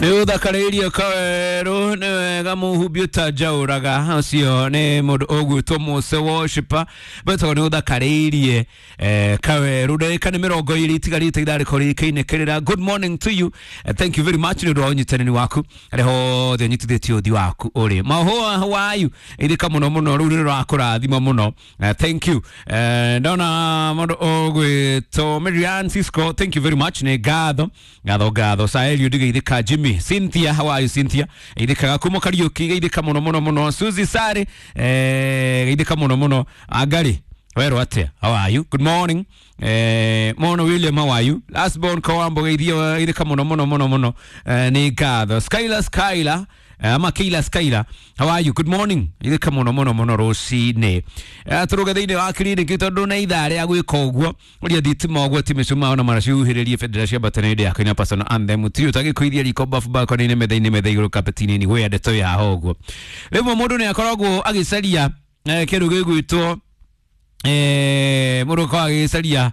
Nä å thakarä irie kawerå nä wega må humbi å tanjaå ũcio nä må ndå å gwä two Mose worshiper betagwo nä å thakarä irie kawerå ndagä ka nä mä rongo ä rä itigarä te ithaa rä korwo rä kä ra. Good morning to you. Thank you very much nä å ndå wa å nyitanä waku arä hothe å nyitithä tie å thi waku å rä mahåa wayu ithika må no må no rä u nä rå rakå rathima må no. Thank you. Ndona må ndå å gwä two Marian Cisco, thank you very much, nä ngatho ngatho ngatho. Saelio ndigeithika Jimmy, Cynthia, how are you, Cynthia? Geithikaga kuma Kariuki, geithika muno muno muno. Suzy Sare, geithika muno muno. Angari werwo atia, how are you? Good morning. Mono William, how are you? Last born Kawambo, geithio, geithika muno muno muno muno. Nĩ ngatho. Skyla Skyla, ama Keila Skyla, how are you? Good morning. Geithika muno muno muno rũcinĩ. Tũrũge thĩinĩ wa kiriniki tondũ nĩ ithaa rĩa gwĩka ũguo ũrĩa thitima ũguo ti mĩcumaa ona maracihuhĩrĩrie bendera cia mbatano ĩndĩ yakwa ina personal anthem tiri ũtagĩkũithia riko bafu balcony-inĩ metha-inĩ metha igũrũ kapeti-inĩ nĩ gwĩa ndeto ya ho ũguo. Rĩmwe mũndũ nĩ akoragwo agĩcaria kĩndũ gĩgwĩtwo mũndũ akoragwo agĩcaria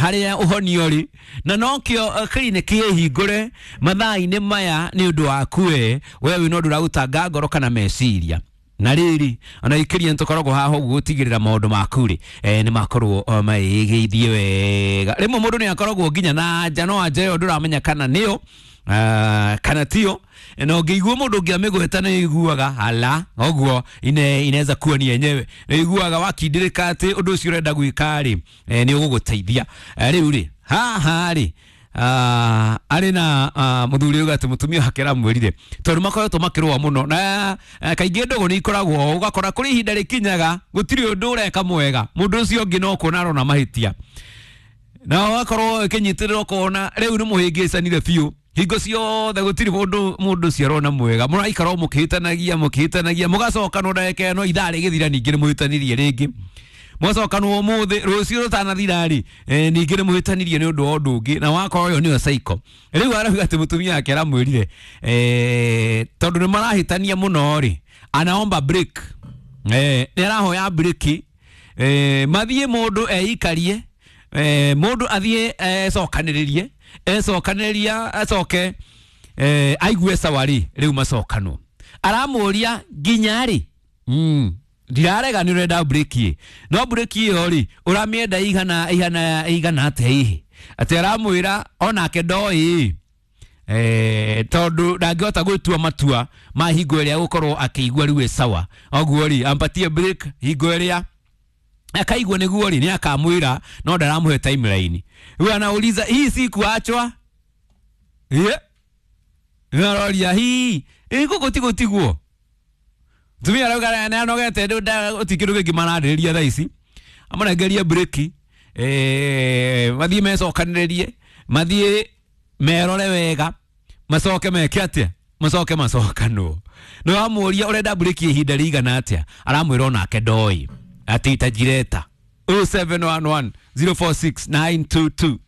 harĩa ũhonio ũrĩ na nokĩo kiriniki ĩhingũre mathaa-inĩ maya nĩ ũndũ waku we we wĩna ũndũ ũragũtanga ngoro kana meciria na rĩrĩ ona ikĩria nĩtũkoragwo haha ũguo gũtigĩrĩra maũndũ maku rĩ nĩ makorwo magĩgĩithie wega. Rĩmwe mũndũ nĩ akoragwo nginya na anja no anja ĩyo ndũramenya kana nĩyo kana tio na ũngĩigua mũndũ ũngĩ amĩgweta nĩ iguaga hala ũguo inaweza kuwa ni yenyewe nĩ iguaga wakindĩrĩka atĩ ũndũ ũcio ũrenda gwĩka rĩ nĩ ũgũgũteithia. Rĩu rĩ haha rĩ arĩ na mũthuri uga atĩ mũtumia wake aramwĩrire tondũ makoretwo makĩrũa mũno na kaingĩ ndũgũ nĩ ikoragwo ũgakora kũrĩ ihinda rĩkinyaga gũtirĩ ũndũ ũreka mwega mũndũ ũcio ũngĩ no kuona arona mahĩtia na ũgakorwo ĩkĩnyitĩrĩra ũkona rĩu nĩ mũhĩngĩcanire biũ hingo ciothe gũtirĩ mũndũ ũcio arona mwega mũraikara o mũkĩhĩtanagia mũkĩhĩtanagia mũgacokanwo ndagĩka ĩno ithaa rĩgĩthira ningĩ nĩ mũhĩtanirie rĩngĩ mwacokanwo ũmũthĩ rũciũ rũtanathira rĩ ningĩ nĩ mũhĩtanirie nĩ ũndũ wa ũndũ ũngĩ na wakorwo ĩyo nĩyo cycle. Rĩu arauga atĩ mũtumia wake aramwĩrire tondũ nĩ marahĩtania mũno rĩ anaomba break, nĩ arahoya break, mathiĩ mũndũ eikarie, mũndũ athiĩ ecokanĩrĩrie ecokanĩrĩria acoke aigue sawa rĩ rĩu macokanwo. Aramũria nginya rĩ ndirarega nĩ ũrenda break ĩ no break ĩyo rĩ ũramĩenda igana igana igana atĩa hihi atĩ aramwĩra onake ndoĩ tondũ ndangĩhota gwĩtua matua ma hingo ĩrĩa gũkorwo akĩigua rĩu ĩ sawa ũguo rĩ ampatie break hingo ĩrĩa akaigua nĩguo rĩ nĩ akamwĩra no ndaramũhe timeline. Rĩu anauliza hii si kuachwa yeah. Aroria hii ĩgũkũ ti gũtigwo tumia arauga nĩ anogete gũtirĩ kĩndũ kĩngĩ mararĩrĩria thaa ici amũnengerie break, mathiĩ mecokanĩrĩrie mathiĩ merore wega macoke meke atĩa macoke macokanwo. Nĩ wamũria ũrenda break ihinda rĩigana atĩa aramwĩra onake ndoĩ atĩ itajireta. 0711 046 922.